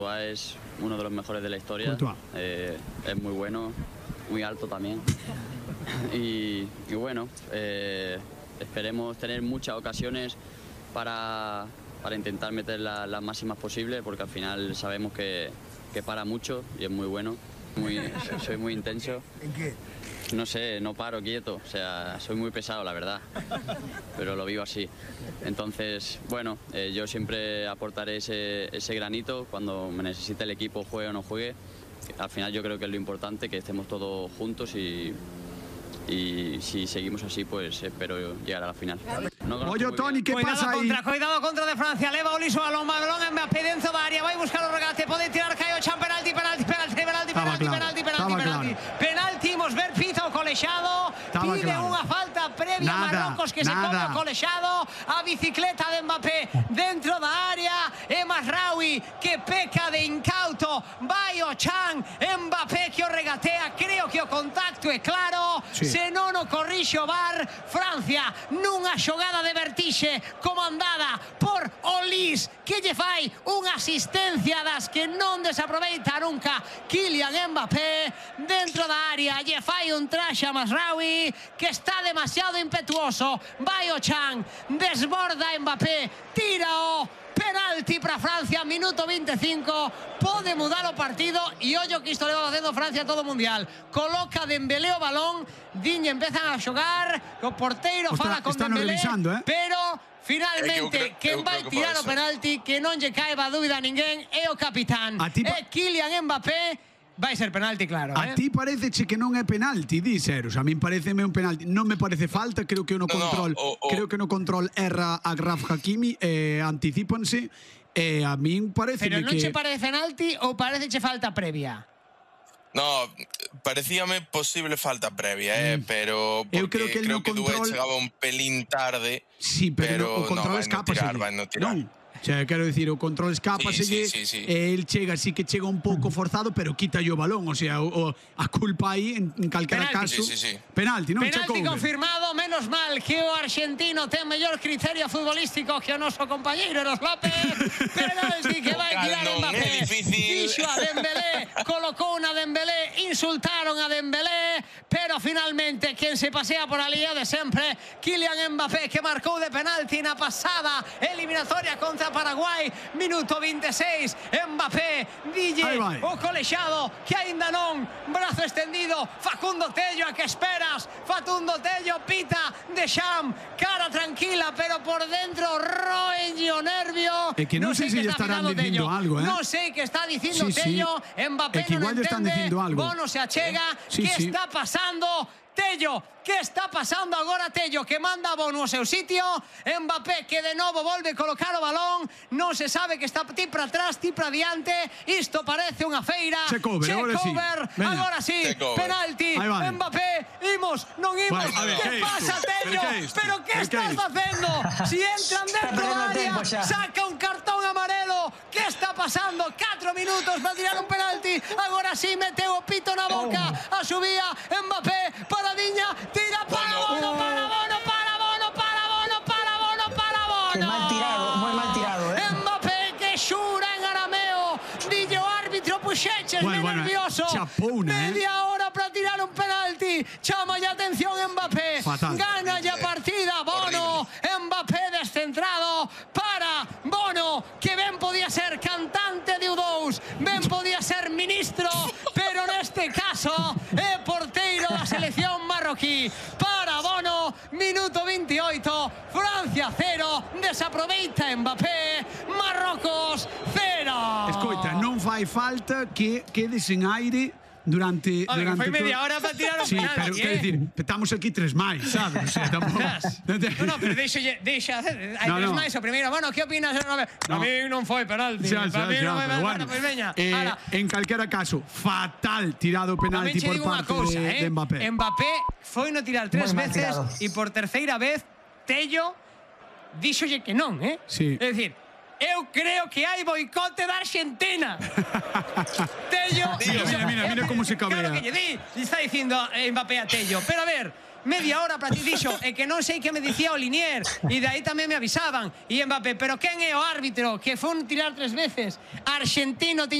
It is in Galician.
Es uno de los mejores de la historia, es muy bueno, muy alto también y bueno, esperemos tener muchas ocasiones para intentar meter las máximas posibles, porque al final sabemos que para mucho y es muy bueno, soy muy intenso. ¿En qué? No sé, no paro quieto, o sea, soy muy pesado, la verdad, pero lo vivo así. Entonces, bueno, yo siempre aportaré ese granito cuando me necesite el equipo, juegue o no juegue. Al final yo creo que es lo importante, que estemos todos juntos y si seguimos así, pues espero llegar a la final. Oye, Toni, ¿qué pasa ahí? Cuidado contra de Francia, leva Oliso balón Mbappé dentro da área, vai buscar o regate, pode tirar Caio Chan, penalti, imos ver pita o colexado, pide unha falta previa Marrocos que se come o colexado, a bicicleta de Mbappé dentro da área, e Mazraoui que peca de incauto, vai o Chan, Mbappé que o regatea, creo que o contacto é claro, se non o corrixe o VAR, Francia nunha xogada de vertixe comandada por Olís, que lle fai unha asistencia das que non desaproveita nunca Kylian Mbappé dentro da área, lle fai un traxe a Mazraoui que está demasiado impetuoso, vai o Chan, desborda Mbappé, tira o penalti para Francia, minuto 25, pode mudar o partido e ollo que isto leva facendo Francia todo o mundial, coloca Dembélé o balón, Diñe empezan a xogar, o porteiro fala con Dembélé, pero finalmente quen vai tirar o penalti, que non lle cae a dúbida a ninguén, é o capitán, é Kylian Mbappé. Vai ser penalti, claro. A ti pareceche que non é penalti, di Seros. A min pareceme un penalti. Non me parece falta, creo que no control, creo que no control erra a Graf Hakimi, anticípanse. A min parece que... Pero non che parece penalti ou pareceche falta previa? No, parecíame posible falta previa, pero porque creo que Dubé chegaba un pelín tarde. Sí, pero o control escapa. Non. O sea, quero dicir, o control escápaselle, el chega, sí que chega un pouco forzado, pero quita o balón, o sea, a culpa aí en calquera caso. Penalti, non? Penalti confirmado, menos mal que o argentino ten mellor criterio futbolístico que o noso compañeiro Eros López. Penalti que vai tirar Mbappé. Dixo a Dembélé, colocou unha Dembélé, insultaron a Dembélé, pero finalmente quen se pasea por ali é de sempre Kylian Mbappé, que marcou de penalti na pasada eliminatoria contra Paraguai, minuto 26, Mbappé, dille o colexado que aínda non, brazo extendido, Facundo Tello, a que esperas? Facundo Tello pita, Deschamps, cara tranquila, pero por dentro roenlle o nervio. É que non sei se lle estarán dicindo algo, Non sei que está dicindo Tello, Mbappé non entende, Bono se achega, que está pasando? Tello, que está pasando agora Tello, que manda a Bono ao seu sitio, Mbappé que de novo volve colocar o balón, non se sabe que está ti para atrás, ti para diante, isto parece unha feira. Checover, agora sí, penalti, Mbappé, imos, non imos, que pasa Tello? Pero que estás facendo? Si entran dentro da área, saca un cartón amarelo, que está pasando? 4 minutos para tirar un penalti, agora sí meteu o pito na boca, a subía Mbappé, para Diña, tira para Bono, para Bono, para Bono, para Bono, para Bono, para Bono. Que mal tirado, moi mal tirado, Mbappé que xura en arameo, dille o árbitro, puxeches nervioso. Media hora para tirar un penalti, chama a atención Mbappé, gana a partida Bono, Mbappé descentrado para Bono, que ben podía ser cantante de U2, ben podía ser ministro, pero neste caso é porteiro da selección marroquí. Para Bono, minuto 28, Francia 0, desaproveita Mbappé, Marrocos 0. Escoita, non fai falta que quedes en aire durante foi media hora para tirar un penalti. Pero quero dicir, estamos aquí 3 máis, sabes? O sea, tampouco. No, pero deixa hacer. Hai 3 máis o primeiro. Bueno, que opinas? A mí non foi penalti. Para mí non foi penalti. Bueno, pois veña. En calquera caso, fatal tirado penalti por parte de Mbappé. Mbappé foi no tirar 3 veces e por terceira vez Tello díxolle que non, Sí. É dicir, eu creo que hai boicote da Argentina. Tello... Mira como se cabrea. Claro que lle di, está dicindo Mbappé a Tello. Pero a ver, media hora para ti dixo, e que non sei que me dicía o Linier, e de aí tamén me avisaban. E Mbappé, pero quen é o árbitro que foi tirar 3 veces? Argentino